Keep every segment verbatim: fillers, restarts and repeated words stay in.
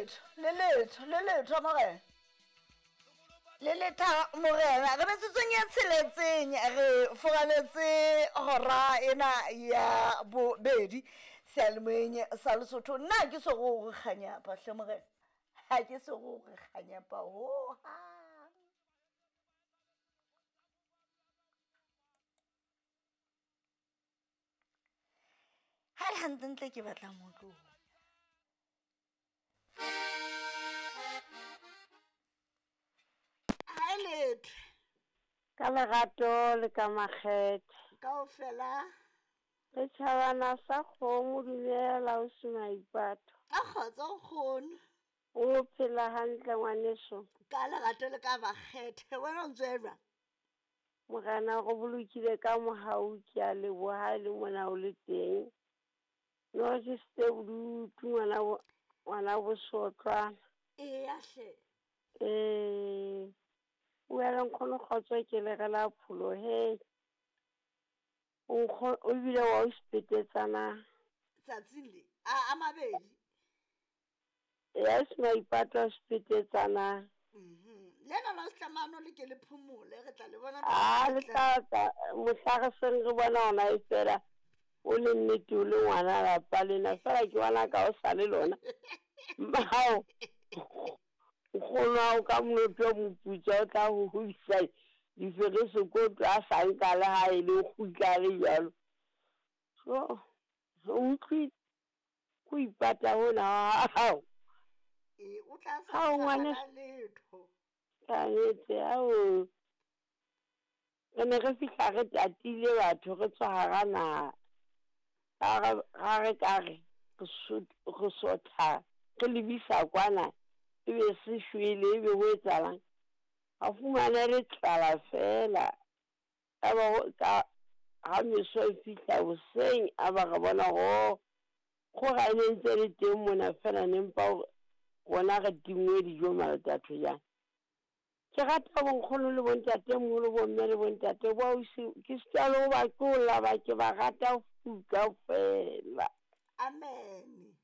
letho le letho le letho morena le letha morena re metsotsong e tsheletseng re furaletse hora ena ya bobedi seyalemoyeng sa Lesotho. Nna ke so go gore kganyapa hle morena, ha ke so go gore kganyapa hohang. Ha le hantlentle ke batla motlo. Ha letho ka lerato le ka makgethe kaofela re tjhabana sa kgomo. Dumela o se maipato. A kgotsa nkgono. O phela hantle ngwaneso? Ka lerato le ka makgethe, wena o ntse o jwang? Morena go bolokile ka mohau, ke a leboha ha e le mona o le teng. No ke setse bodutu ngwana bo ngwana bosotlwana. Eya hle. Ee, bua le nkgono kgotso ke le re la pholo he. Nkgo o bile wa o sepetetsana tsatsing le a a mabedi. Ya se maipato a sepetetsana. Mhm. Le lona setlamano le ke le phomole, re tla le bona. A le tla tla mohla re seng re bona hona e fela o le nnete o le ngwana lapa lena fela ke bona ka o sa le lona. Mao nkgono wa ka moloto o moputswa o tla ho hodisa diferesekoto a sa nka le ha e le kgutla le jwalo. So o utlwile ko ipata hona ha hao. Ee, o tla sa Hao, ngwane. tla letho. Kannete ao re ne re fihla re tatile batho re tswa hara naha. Ha re ha re ka re re sot- re sotha re lebisa kwana ebe se shwele ebe ho etsahalang. A fumana le tlala fela. Ka ba ho ka ha meso e fihla hoseng a ba re bona ho kgora e ne ntse le teng mona fela ne mpa hore rona re tinngwe dijo maletatho jang. Ke rata bonkgono le bontatemoholo, bomme le bontate bo ausi, ke sitwa le ho ba tlola ba ke ba rata kaofela. Amen.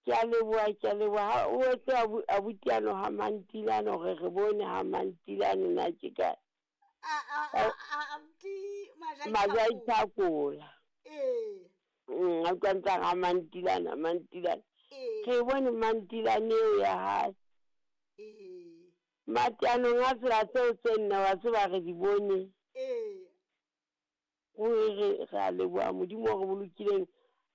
Ke a leboha, ke a leboha. Ha o etse abu abuti ano ha Mantilane hore re bone ha Mantilane na ke kae. A a a a abuti Majai. Majai Thakola. Ee. Mm, a utlwa ntse a re ha Mantilane, ha Mantilane. Ee. Re bone Mantilane eo ya hae. Ee. Mateanong a tsela tseo tse nne wa tseba re di bone. Ee. Ruri re re a leboha Modimo o re bolokileng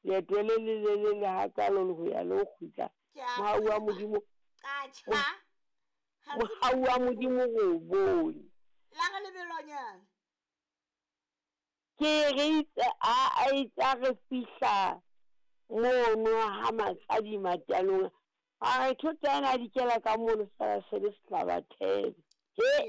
leeto le le lelele hakalo le ho ya le ho kgutla. Ke a Mohau wa tseba. Modimo, Ka tjha. Ha se mohau wa Modimo re o bone. La re lebelonyana. Ke re itse a a itse ha re fihla mono ha Matsadi mateanong a re thota ena a dikela ka mono fela se le sehlabathebe. He